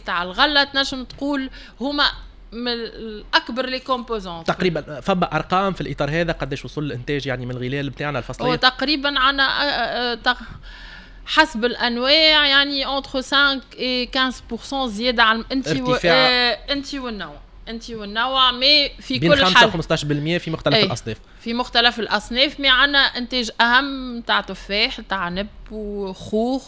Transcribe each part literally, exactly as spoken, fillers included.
تاع الغلة تنجم تقول هما من الاكبر les composantes. تقريبا فما ارقام في الاطار هذا قداش وصل الانتاج يعني من الغلال بتاعنا الفصليه؟ هو تقريبا عندنا حسب الانواع يعني entre خمسة et خمسة عشر في المية زيادة على انت و... آه انت والنوع، انت والنوع، mais في بين كل خمسة حال و خمسطاش بالمية في مختلف أي. الاصناف. في مختلف الاصناف، mais عندنا انتاج اهم تاع تفاح، تاع عنب وخوخ،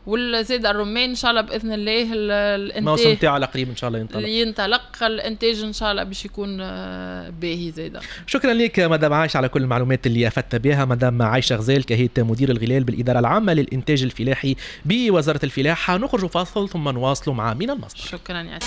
والزاد الرمان ان شاء الله باذن الله الانتاج الموسم تاعو على قريب ان شاء الله ينطلق. ينطلق الانتاج ان شاء الله باش يكون آه، باهي زاده. شكرا لك مدام عايشه على كل المعلومات اللي افدت بها. مدام عايشه غزال، كهية مدير الغلال بالادارة العامة للانتاج الفلاحي بوزارة الفلاحه. نخرج فاصل ثم نواصل مع من المصدر. شكرا يا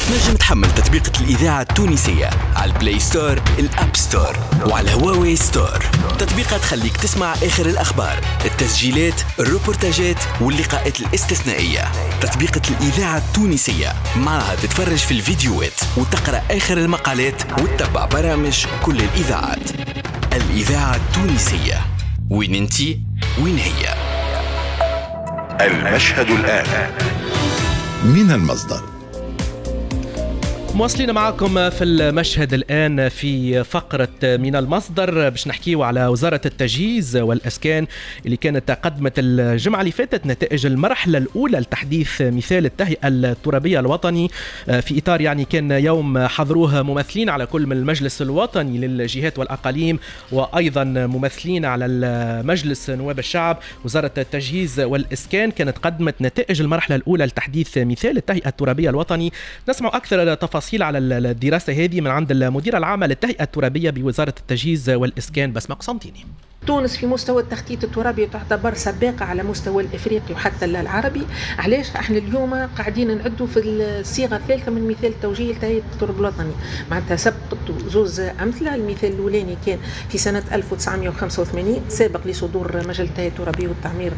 تنجم تحمل تطبيقة الإذاعة التونسية على ال Play Store، ال App Store وعلى هواوي Store. تطبيقة تخليك تسمع آخر الأخبار، التسجيلات، الروبورتاجات واللقاءات الاستثنائية. تطبيقة الإذاعة التونسية معها تتفرج في الفيديوهات وتقرأ آخر المقالات وتتبع برامج كل الإذاعات. الإذاعة التونسية، وين انتي وين هي. المشهد الآن من المصدر. مواصلين معكم في المشهد الآن في فقرة من المصدر، باش نحكيو على وزارة التجهيز والأسكان اللي كانت قدمت الجمعة اللي فاتت نتائج المرحلة الأولى لتحديث مثال التهيئة الترابية الوطني، في إطار يعني كان يوم حضروه ممثلين على كل من المجلس الوطني للجهات والأقاليم وأيضا ممثلين على المجلس نواب الشعب. وزارة التجهيز والإسكان كانت قدمت نتائج المرحلة الأولى لتحديث مثال التهيئة الترابية الوطني. نسمع أكثر تفاصيل على الدراسة هذه من عند المديرة العامة للتهيئة الترابية بوزارة التجهيز والإسكان بسمة قسنطيني. تونس في مستوى التخطيط الترابي تعتبر سباقة على مستوى الافريقي وحتى العربي. علاش؟ احنا اليوم قاعدين نعدوا في الصيغة الثالثة من مثال توجيه لتهيئه التراب الوطني، معناتها سبقت زوز امثله. المثال الاولاني كان في سنة ألف وتسعمية وخمسة وثمانين سابق لصدور مجلة التهيئه الترابيه والتعمير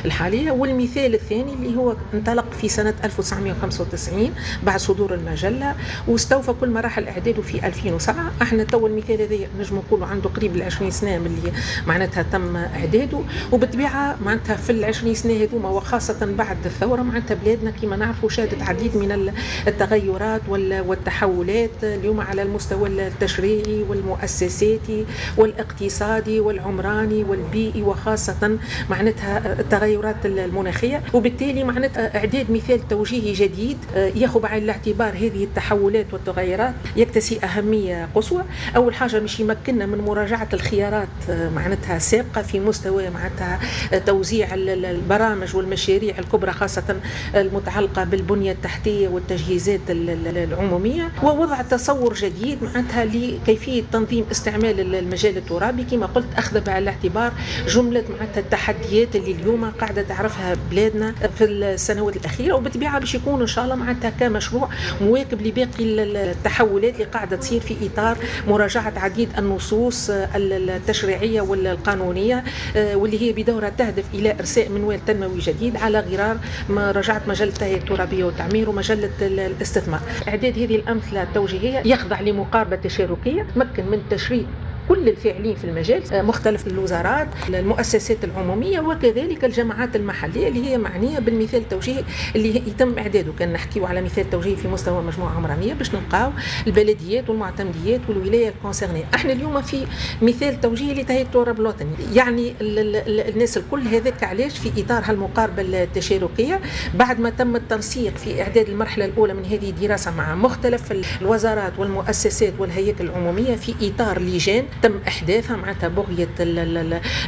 الحاليه، والمثال الثاني اللي هو انطلق في سنة ألف وتسعمية وخمسة وتسعين بعد صدور المجلة واستوفى كل مراحل اعداده في ألفين وسبعة. احنا تو المثال هذا نجم نقولوا عنده قريب ال عشرين سنة من اللي معناتها تم اعداده. وبالطبيعه معناتها في ال عشرين سنة هذوما وخاصة بعد الثوره، معناتها بلادنا كما نعرفوا شهدت عديد من التغيرات والتحولات اليوم على المستوى التشريعي والمؤسساتي والاقتصادي والعمراني والبيئي، وخاصة معناتها التغيرات المناخيه. وبالتالي معناتها اعداد مثال توجيهي جديد ياخذ بعين الاعتبار هذه التحولات والتغيرات يكتسي اهمية قصوى. اول حاجة مش يمكننا من مراجعه الخيارات معناتها السابقة في مستوى معناتها توزيع البرامج والمشاريع الكبرى، خاصة المتعلقة بالبنيه التحتية والتجهيزات العموميه، ووضع تصور جديد معناتها لكيفية تنظيم استعمال المجال الترابي، كما قلت اخذ بعين الاعتبار جملة معناتها التحديات اللي اليوم قاعدة تعرفها بلادنا في السنوات الاخيره. وبالطبيعه باش يكون ان شاء الله معناتها كمشروع مواكب لباقي التحولات اللي قاعدة تصير في اطار مراجعه عديد النصوص التشريعية والقانونيه، آه، واللي هي بدورها تهدف الى ارساء منوال تنموي جديد على غرار مراجعه مجلة التهيئه الترابيه والتعمير ومجله الاستثمار. اعداد هذه الامثلة التوجيهيه يخضع لمقاربه تشاركيه تمكن من تشريك كل الفاعلين في المجال، آه، مختلف الوزارات، المؤسسات العمومية، وكذلك الجماعات المحلية اللي هي معنية بالمثال التوجيهي اللي يتم إعداده. كان نحكيو على مثال توجيهي في مستوى مجموعة عمرانية باش نلقاو البلديات والمعتمديات والولاية ال concernées. احنا اليوم في مثال توجيهي لتهيئة التراب الوطني، يعني الناس الكل. هذاك علاش في إطار هالمقاربة التشاركية، بعد ما تم التنسيق في إعداد المرحلة الأولى من هذه الدراسة مع مختلف الوزارات والمؤسسات والهياكل العمومية في إطار لجان تم احداثها معناتها بغيه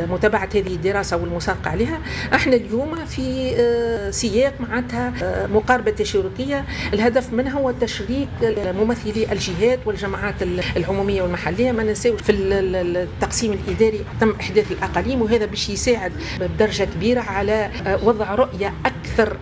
متابعه هذه الدراسة والمصادقه عليها، احنا اليوم في آه، سياق معناتها آه، مقاربة تشاركيه الهدف منها هو تشريك ممثلي الجهات والجماعات العمومية والمحليه. ما ننساوش في التقسيم الاداري تم احداث الاقاليم، وهذا باش يساعد بدرجة كبيرة على آه، وضع رؤية اكثر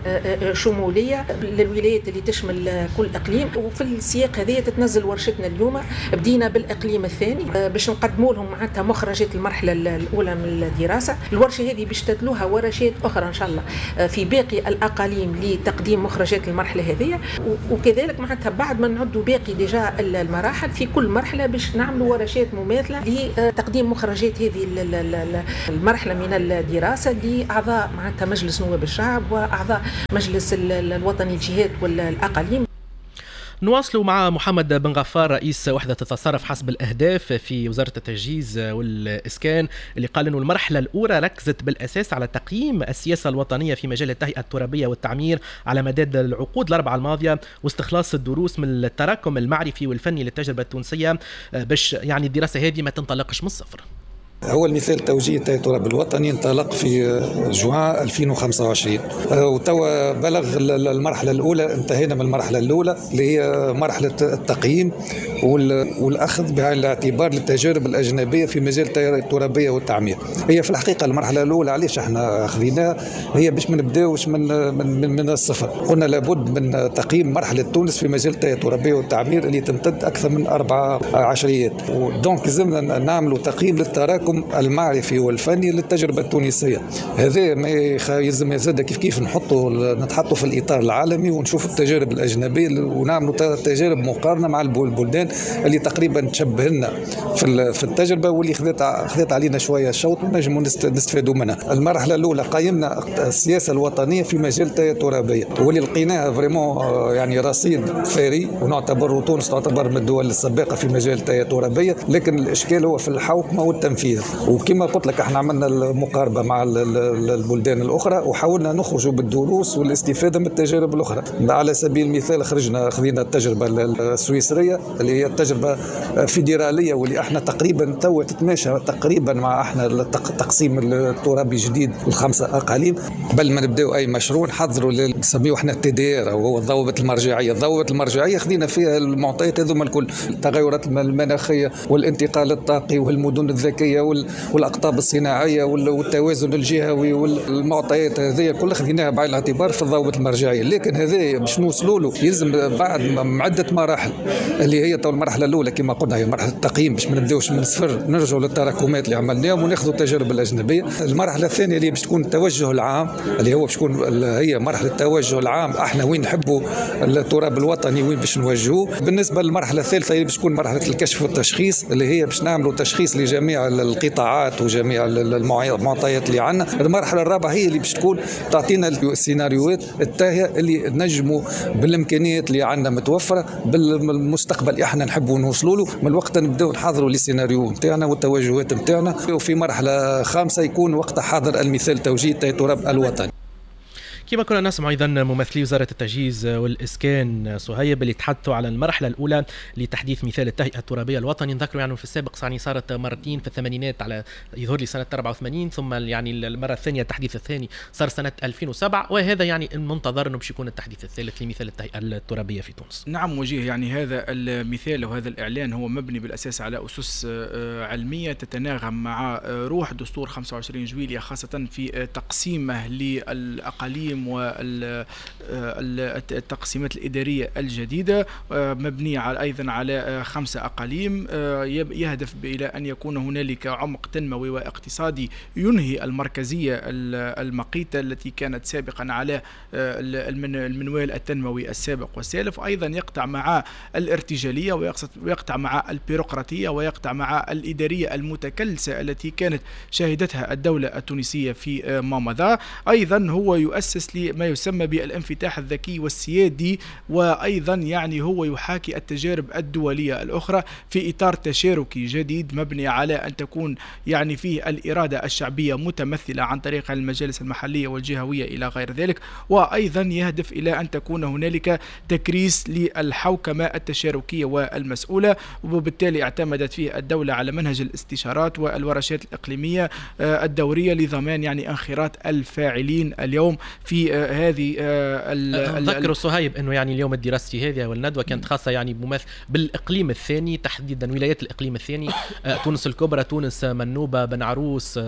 شمولية للولايات اللي تشمل كل اقليم. وفي السياق هذا تتنزل ورشتنا اليوم. بدينا بالاقليم الثاني باش نقدموا لهم معناتها مخرجات المرحلة الاولى من الدراسه. الورشة هذه باش تتلوها ورشات اخرى ان شاء الله آه، في باقي للاقاليم لتقديم مخرجات المرحلة هذه، وكذلك معناتها بعد ما نعدوا باقي déjà المراحل في كل مرحلة باش نعملوا ورشات مماثلة لتقديم مخرجات هذه المرحلة من الدراسة لاعضاء معناتها مجلس نواب الشعب واعضاء مجلس الوطني للجهات والاقاليم. نواصل مع محمد بن غفار رئيس وحدة التصرف حسب الأهداف في وزارة التجهيز والإسكان، اللي قال أنه المرحلة الأولى ركزت بالأساس على تقييم السياسة الوطنية في مجال التهيئة الترابية والتعمير على مدى العقود الأربعة الماضية، واستخلاص الدروس من التراكم المعرفي والفني للتجربة التونسية باش يعني الدراسة هذه ما تنطلقش من الصفر. هو المثال توجيه التراب الوطني انطلق في جوان ألفين وخمسة وعشرين، وتوا بلغ المرحلة الأولى، انتهينا من المرحلة الأولى اللي هي مرحلة التقييم والأخذ بعين الاعتبار للتجارب الأجنبية في مجال الترابية والتعمير. هي في الحقيقة المرحلة الأولى علاش احنا أخذناها، هي باش ما نبداوش من من من الصفر. قلنا لابد من تقييم مرحلة تونس في مجال الترابية والتعمير اللي تمتد أكثر من أربع عشريات، donc لازمنا نعملوا تقييم للتراكم المعرفي والفني للتجربة التونسية. هذا ما يلزم زاد كيف كيف نحطوا نتحطوا في الإطار العالمي ونشوف التجارب الأجنبية ونعملوا تجارب مقارنة مع البلدان اللي تقريبا تشبه لنا في في التجربة واللي خذت خذت علينا شوية الشوط ونجموا نستفادوا منها. المرحلة الأولى قيمنا السياسة الوطنية في مجال الترابية واللي لقيناها vraiment يعني رصيد ثري، ونعتبر تونس تعتبر من الدول السابقة في مجال الترابية، لكن الإشكال هو في الحوكمة والتنفيذ. وكما قلت لك احنا عملنا المقاربة مع البلدان الاخرى وحاولنا نخرج بالدروس والاستفادة من التجارب الاخرى. على سبيل المثال خرجنا خذينا التجربة السويسريه اللي هي التجربة فيدرالية واللي احنا تقريبا توا تتماشى تقريبا مع احنا التقسيم الترابي الجديد الخمسة اقاليم. قبل ما نبداو اي مشروع نحضروا اللي نسميوه احنا ال TDR او الضوابط المرجعية. الضوابط المرجعية خذينا فيها المعطيات هذوما الكل، التغيرات المناخية والانتقال الطاقي والمدن الذكية والاقطاب الصناعية والتوازن الجهوي والمعطيات هذه كلها خذيناها بعين الاعتبار في الضوابط المرجعية. لكن هذا باش نوصلوا له يلزم بعد عده مراحل اللي هي تو المرحلة الاولى كما قلنا هي مرحلة التقييم باش ما نبداوش من الصفر، نرجعوا للتراكمات اللي عملناهم وناخذوا التجارب الاجنبية. المرحلة الثانية اللي باش تكون التوجه العام اللي هو باش تكون هي مرحلة التوجه العام، احنا وين نحبوا التراب الوطني وين باش نوجهوه. بالنسبة للمرحلة الثالثة اللي باش تكون مرحلة الكشف والتشخيص اللي هي باش نعملوا تشخيص لجميع القطاعات وجميع المعطيات اللي عندنا. المرحلة الرابعة هي اللي باش تكون تعطينا السيناريوهات التاهيه اللي نجموا بالامكانيات اللي عندنا متوفرة بالمستقبل احنا نحبوا نوصلوا له. من الوقت نبداو نحضروا les scénarios نتاعنا والتوجهات نتاعنا. وفي مرحلة خامسة يكون وقت حاضر المثال توجيه التراب الوطني. كما كنا نسمع أيضا ممثلي وزارة التجهيز والإسكان صهيب اللي تحدثوا على المرحلة الأولى لتحديث مثال التهيئة الترابية الوطني. نذكروا يعني في السابق يعني صارت مرتين في الثمانينات على يظهر لي سنة أربعة وثمانين، ثم يعني المرة الثانية التحديث الثاني صار سنة ألفين وسبعة، وهذا يعني المنتظر أنه باش يكون التحديث الثالث لمثال التهيئة الترابية في تونس. نعم وجيه، يعني هذا المثال وهذا الإعلان هو مبني بالأساس على أسس علمية تتناغم مع روح دستور خمسة وعشرين جويلية، خاصة في تقسيمه للأقاليم والتقسيمات الإدارية الجديدة، مبنية على أيضا على خمسة أقاليم، يهدف إلى أن يكون هنالك عمق تنموي واقتصادي ينهي المركزية المقيتة التي كانت سابقا على المنوال التنموي السابق والسالف، وأيضا يقطع مع الارتجالية ويقطع مع البيروقراطية ويقطع مع الإدارية المتكلسة التي كانت شهدتها الدولة التونسية في ما مضى. أيضا هو يؤسس لما يسمى بالانفتاح الذكي والسيادي، وأيضا يعني هو يحاكي التجارب الدولية الأخرى في إطار تشاركي جديد مبني على أن تكون يعني فيه الإرادة الشعبية متمثلة عن طريق المجالس المحلية والجهوية إلى غير ذلك، وأيضا يهدف إلى أن تكون هنالك تكريس للحوكمة التشاركية والمسؤولة، وبالتالي اعتمدت فيه الدولة على منهج الاستشارات والورشات الإقليمية الدورية لضمان يعني انخراط الفاعلين اليوم في هذه. نذكر صهيب انه يعني اليوم الدراسة هذه والندوه كانت خاصة يعني بممثل بالاقليم الثاني تحديدا ولايات الاقليم الثاني، تونس الكبرى، تونس منوبه، بن عروس،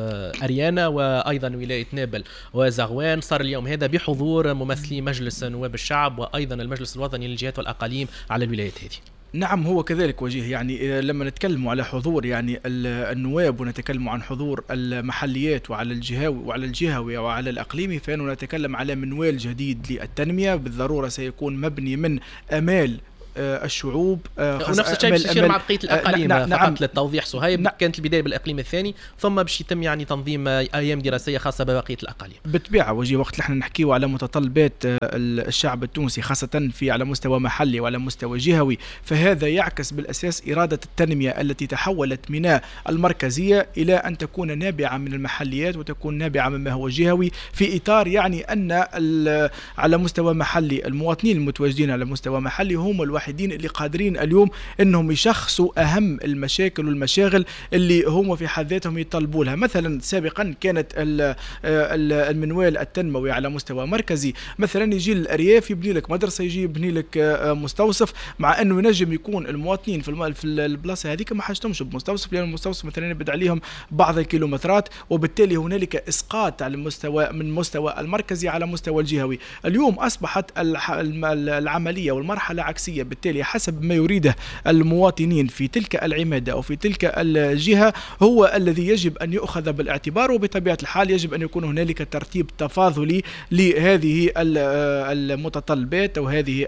اريانا، وايضا ولاية نابل وزغوان. صار اليوم هذا بحضور ممثلي مجلس نواب الشعب وايضا المجلس الوطني للجهات والاقاليم على الولايات هذه. نعم هو كذلك وجيه. يعني لما نتكلم على حضور يعني النواب ونتكلم عن حضور المحليات وعلى الجهوي وعلى الجهوي وعلى الأقليمي، فإنه نتكلم على منوال جديد للتنمية بالضرورة سيكون مبني من أمال الشعوب. ونفس الشيء باش يصير مع بقية الاقاليم. نعم فقط للتوضيح صهيب، نعم كانت البداية بالاقليم الثاني، ثم باش يتم يعني تنظيم ايام دراسية خاصة ببقية الاقاليم. بالطبيعة وجي وقت اللي احنا نحكيو على متطلبات الشعب التونسي خاصة في على مستوى محلي وعلى مستوى جهوي، فهذا يعكس بالاساس اراده التنمية التي تحولت من المركزية الى ان تكون نابعة من المحليات وتكون نابعة مما هو جهوي، في اطار يعني ان على مستوى محلي المواطنين المتواجدين على مستوى محلي هم الوحيدين اللي قادرين اليوم انهم يشخصوا اهم المشاكل والمشاغل اللي هم في حد ذاتهم يطلبوا لها. مثلا سابقا كانت المنوال التنموي على مستوى مركزي، مثلا يجي الارياف يبني لك مدرسه، يجي يبني لك مستوصف، مع انه ينجم يكون المواطنين في في البلاصة هذيك ما حاجتهمش بمستوصف، لان المستوصف مثلا يبعد عليهم بعض الكيلومترات، وبالتالي هنالك اسقاط على المستوى من مستوى المركزي على مستوى الجهوي. اليوم اصبحت العملية والمرحلة عكسية، بالتالي حسب ما يريده المواطنين في تلك العمادة أو في تلك الجهة هو الذي يجب أن يؤخذ بالاعتبار، وبطبيعة الحال يجب أن يكون هنالك ترتيب تفاضلي لهذه المتطلبات أو هذه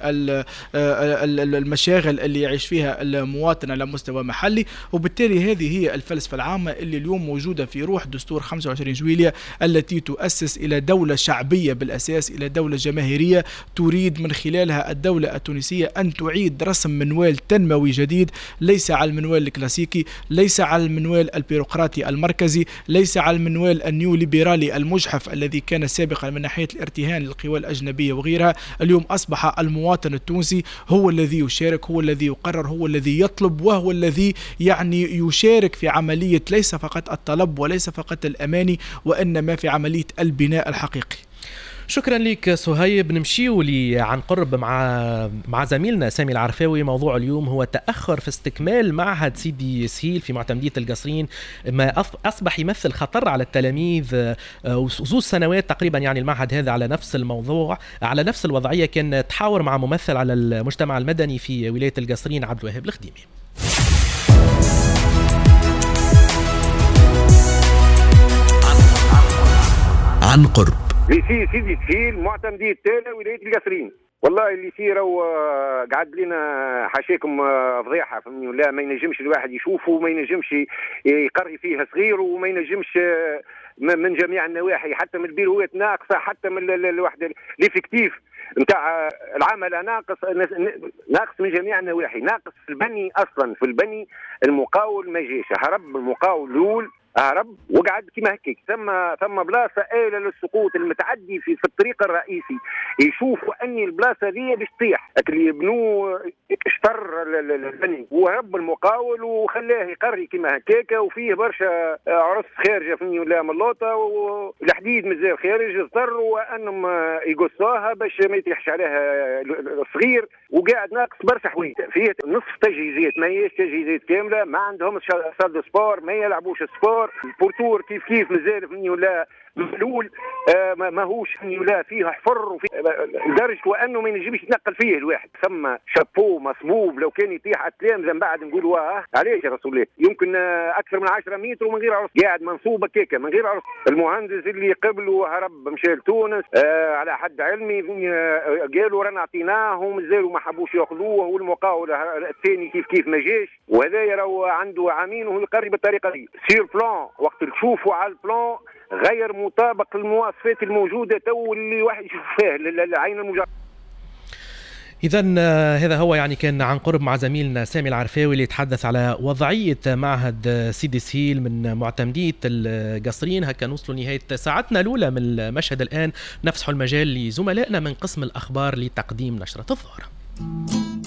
المشاغل اللي يعيش فيها المواطن على مستوى محلي. وبالتالي هذه هي الفلسفة العامة اللي اليوم موجودة في روح دستور خمسة وعشرين جويلية، التي تؤسس إلى دولة شعبية بالأساس، إلى دولة جماهيرية تريد من خلالها الدولة التونسية أن تعيد رسم منوال تنموي جديد، ليس على المنوال الكلاسيكي، ليس على المنوال البيروقراطي المركزي، ليس على المنوال النيوليبرالي المجحف الذي كان سابقا من ناحية الارتهان للقوى الأجنبية وغيرها. اليوم أصبح المواطن التونسي هو الذي يشارك، هو الذي يقرر، هو الذي يطلب، وهو الذي يعني يشارك في عملية ليس فقط الطلب وليس فقط الأماني، وإنما في عملية البناء الحقيقي. شكرا لك صهيب. نمشيو لي عن قرب مع مع زميلنا سامي العرفاوي. موضوع اليوم هو تأخر في استكمال معهد سيدي سهيل في معتمدية القصرين، ما أصبح يمثل خطر على التلاميذ وزوج سنوات تقريبا يعني المعهد هذا على نفس الموضوع على نفس الوضعية. كان تحاور مع ممثل على المجتمع المدني في ولاية القصرين عبد الوهاب الخديمي. عن قرب lycée سيدي سهيل معتمدية تالا ولاية القصرين. والله ال lycée راهو قعد لنا حاشاكم فضيحة، فهمني ولا ما ينجمش الواحد يشوفه وما ينجمش يقري فيه صغير وما ينجمش من جميع النواحي، حتى من البيروات ناقصه، حتى من الواحد l'effectif نتاع العملة ناقص، ناقص من جميع النواحي، ناقص في البني اصلا، في البني المقاول ما جاش، هرب المقاول الاول هرب وقعد كيما هكاك. ثم ثم بلاصة آلة للسقوط المتعدي في, في الطريق الرئيسي يشوفوا اني البلاصة دي باش تطيح، اللي يبنوه اشتر البني وهرب المقاول وخلاه يقري كيما هكاك، وفيه برشا عرس خارجه فهمني ولا ملوطه والحديد مازال خارج، اضطروا انهم يقصوها باش ما يطيحش عليها الصغير، وقاعد ناقص برشا حوايج، فيه نصف تجهيزات ما هيش تجهيزات كاملة، ما عندهمش salle de sport، ما يلعبوش sport، ال porteur كيف كيف مازال فهمني ولا محلول، آه ماهوش فهمني ولا فيه حفر وفيه لدرجة وانه ما ينجمش يتنقل فيه الواحد. ثم شابو مصبوب لو كان يطيح على التلامذه من بعد نقولوا اه علاش يا رسول الله، يمكن آه اكثر من عشرة متر ومن غير عرس، قاعد منصوبه كيكة من غير عرس. المهندس اللي قبله هرب مشى لتونس آه على حد علمي، آه قالوا رانا عطيناه ومازالوا ما حبوش ياخذوه، والمقاول الثاني كيف كيف ما جاش، وهذا راهو عنده عامين وهو يقري بالطريقة دي. sur plan وقت تشوفوا على ال plan غير مطابق للمواصفات الموجودة تو اللي واحد يشوف فيه العين المجرد. إذا هذا هو يعني كان عن قرب مع زميلنا سامي العرفاوي اللي يتحدث على وضعية معهد سيدي سهيل من معتمدية القصرين. هكا نوصلوا نهاية ساعتنا الأولى من المشهد الآن، نفسح المجال لزملائنا من قسم الأخبار لتقديم نشرة الظهر.